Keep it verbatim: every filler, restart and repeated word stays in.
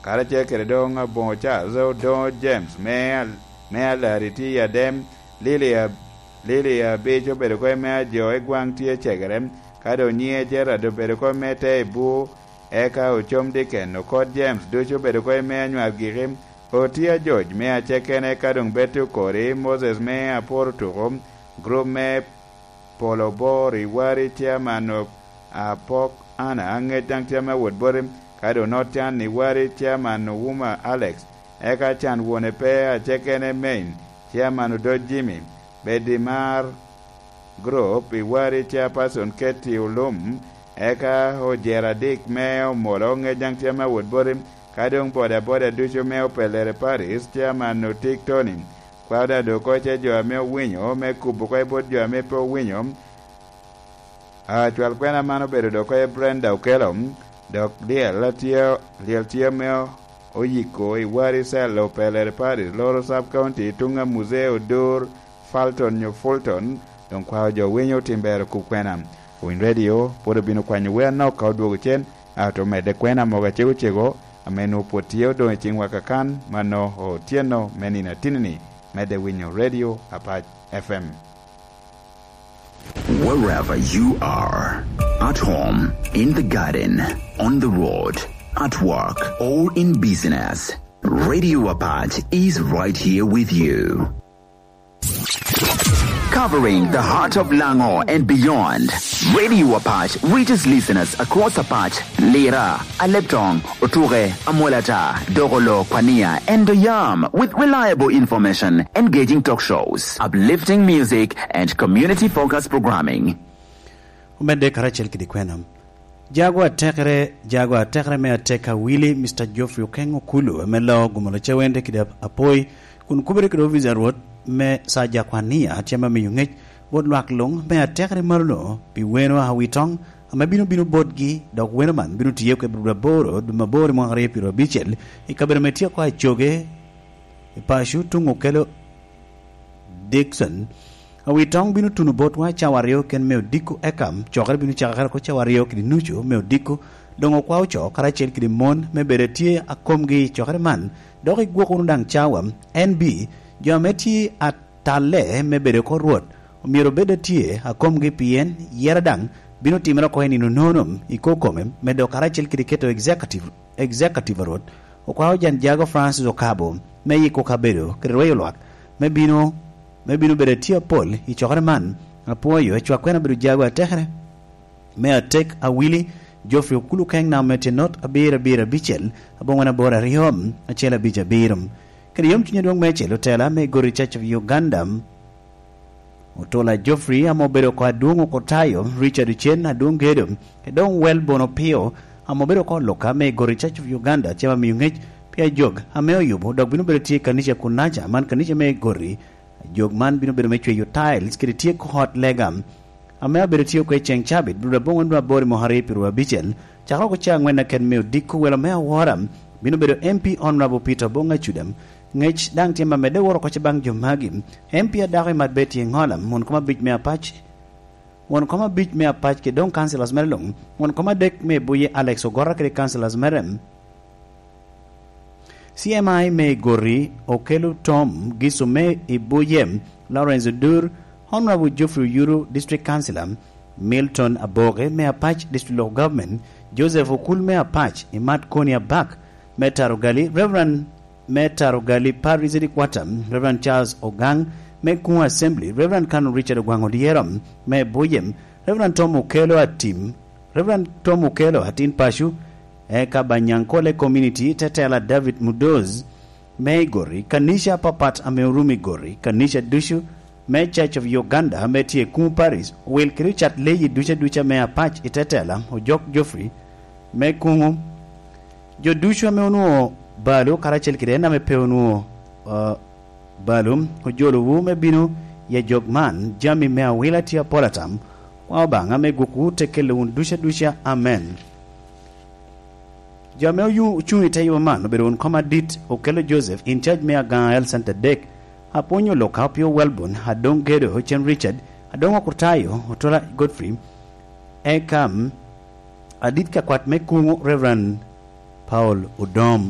karacel kede doŋ aboŋo Charles, odoŋo James me al-, me Alari tye i Adem, Lili a-, Lili abic obedo kop me ajo i gwaŋ tye cegere, ka doŋ nyiŋe Gerard obedo kop me te i bur, eka ocom Diken, okot James ducu obedo kop me anywar giki, oti ajoc me acekene ka doŋ bedo okori, Moses me aporo tuko, grup me Polo Bor i wari, chairman of Apok Ana, aŋec daŋ chairman Awot Boti, ka doŋ North Can i wari, chairman Ouma Alex, eka can wone pe acekene Main, chairman Odoc Jimmy, Bedimar Group i wari, chairperson Katie Olum, eka ojera Dick me Omolo, aŋec daŋ chairman Awot Boti, ka doŋ bodaboda ducu me Opelere Paris, chairman Otik Tony, Kwawda doŋ oko ice jo ame owinyo, me kubo oko i bot jo ame pe owinyo. Acwal kwena man obedo doŋ oko i Brenda Okello, dok lyel atye, lyel tye ame oyiko i wari cell Opelere Paris, Loro Sub County, tuŋ a Muzee Odur, Falton nyo Fulton, doŋ kwao jo winyo otim ber okub kwena. Winy Radio pwod obino kwanyo wer anok ka odwogo cen, ato medde kwena mogo acego cego, ame nwoŋo pwod tye odoŋ i ciŋwa kakan, mano otyeno me nino atinni, medde winyo Radio Apac F M. Wherever you are, at home, in the garden, on the road, at work, or in business, Radio Apac is right here with you. Covering the heart of Lango and beyond, Radio Apac reaches listeners across Apac, Lira, Aleptong, Otuke, Amolata, Dogolo, Kwania, and Doyam with reliable information, engaging talk shows, uplifting music, and community-focused programming. Omedde karacel kede kwena. Jago atekere, jago atekere me atek awili, Mister Geoffrey Okeng Okulu, ame loo gumolo cawende kede ap-, apoi, kun kubere kede ofica Rwot me Saja Kwania, tye ame miyo ŋec bot lwak luŋ me atekere malo-no pi weno Awitoŋ, ame bino bino botgi, dok weno man bino tiye kede dwe aboro, dwe maboro i mwaka aryo pyeraryo abicel, i kabedo me tyeko acoge i paco tuŋ okelo Dickson. Awitoŋ bino tuno botwa cawa aryo ken me odiko, eka cokere bino cakere oko cawa aryo kede nucu me odiko. Doŋ okwao co karacel kede mon me bedo atye akomgi i cokere man, dok igwok wunu daŋ cawa. En bi, jo ame tye atalle me bedo oko Rwot, myero obed atye akomgi, pien yera daŋ bino timere oko i nino nono i kor kome, medo karacel kede keto executive, executive a Rwot. Okwao jan jago Francis Okabo me yiko kabedo kede rweyo lwak me bino, me bino bedo atye apol i cokere man. Apwoyo, cwak kwena bedo jago atekere me atek awili, Geoffrey Okulu Keng, namba me tye not abiro abiro abicel, aboŋwen aboro aryo, acel abic abiro. Kede yom cuny adwoŋ meicel, otela me Gori Church of Uganda, Otola Geoffrey, ame obedo oko adwoŋ oko tayo, Richard Ochen adwoŋ gedo, kede doŋ Welbon Opio, ame obedo oko luka me Gori Church of Uganda, cema miyo ŋec pi ajog ame oyubo, dok bino bedo tye i kanica kunaca, man kanica me Gori. Ajog man bino bedo me cweyo tiles kede tyeko ot lega, ame abedo tye oko i ceŋ cabit, dul aboŋo nwa aboro i mwaka aryo pyeraryo abicel, cakere oko caa aŋwen aket me odiko welo me awora, bino bedo M P Honorable Peter Obong Acuda. Ŋec daŋ tye ma medde woro oko ce baŋ jo magi. M P adako i Matbet tye Ŋola, won kom abic me Apac, won kom abic me Apac, kede doŋ councillors mere luŋ, won kom adek me Buye Alex Ogora kede councillors mere. C M I me Gori Okelo Tom Gisu me Ibuye, Lawrence Odur, Honorable Geoffrey Oyuru, District Councillor, Milton Aboke me Apac District Local Government, Joseph Okul me Apac, Imat Koni Abak me Tarogali, Reverend me Tarogali Parish Headquarter, Reverend Charles Ogang me Kuŋ Assembly, Reverend Canon Richard Ogwaŋ Odyero me Ibuye, Reverend Tom Okelo Atim, Reverend Tom Okelo, atin paco, eka Banyankole Community, Tetela David Mudoz, me i Gori, kanica apapat ame orumo i Gori, kanica ducu me Church of Uganda ame tye i Kuŋu Parish, owil kede ocat leyi duca duca me Apac i Tetela, Ojok Geoffrey, me Kuŋu. Jo ducu ame onwoŋo balo karacel kede en ame pe onwoŋo, uh, balo, ojolowu me bino i ajog man, jami me awila tye apol atam. Kwa Obaŋa me gwokwu te kelo wun duca duca. Amen. Jo ame oyu-, ocuŋ i te yubo man obedo wun kom adit, Okello Joseph, in charge me Agaŋa Health Center adek, Apwonyo Luka, Opio Welbon, Adoŋ Gedo, Ocen Richard, Adoŋ Okurtayo, Otola Godfrey, eka, mm, adit ka kwat me Kuŋu, Reverend Paul Odom.